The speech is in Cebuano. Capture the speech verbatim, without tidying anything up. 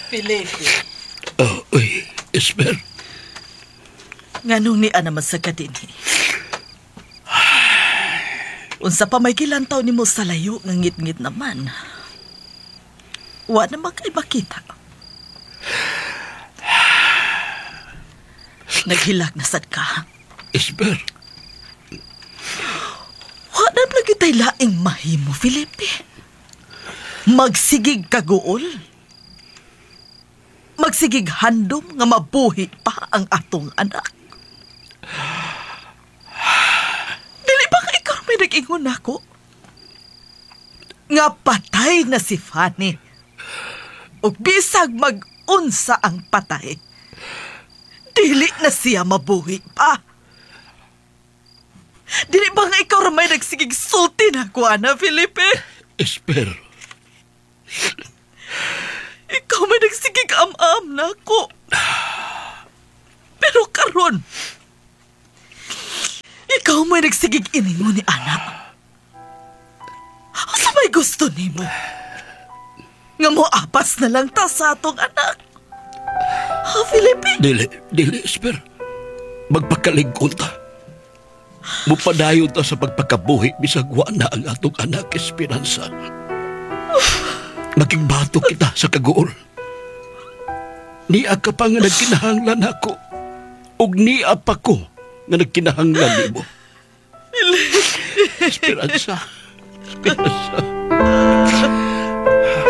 Felipe. Oh, uy, Esper. Nganong nia naman sa ka dinhi? Unsa pa may gilantaw nimo sa layo nga ngit-ngit naman. Wa na kay makita. Naghilak na sad ka. Esper. Wa na lagi tay laing mahimo, Felipe. Magsigig kaguol. Magsigig handom nga mabuhi pa ang atong anak. Dili ba ka ikaw may nag-ingon nako? Nga patay na si Fanny. Ug bisag mag-unsa ang patay. Dili na siya mabuhi pa. Dili ba nga ikaw ra may nagsigig sulti nako, ana, Felipe? Esper. Ikaw may nagsigig am-am nako. Pero karon, ikaw may nagsigig iningon ni anak. Asa may gusto nimo? Nga mo apas na lang ta sa atong anak. Ha, Felipe? Dili, dili, Esper. Magpakaligkon ta. Mupadayon ta sa pagpakabuhi bisag wa na ang atong anak, Esperanza. Maging bato kita sa kaguol. Nia ka pa nga nagkinahanglan ako. Ug niya pa ko nga nagkinahanglan nimo. Esperanza. Esperanza.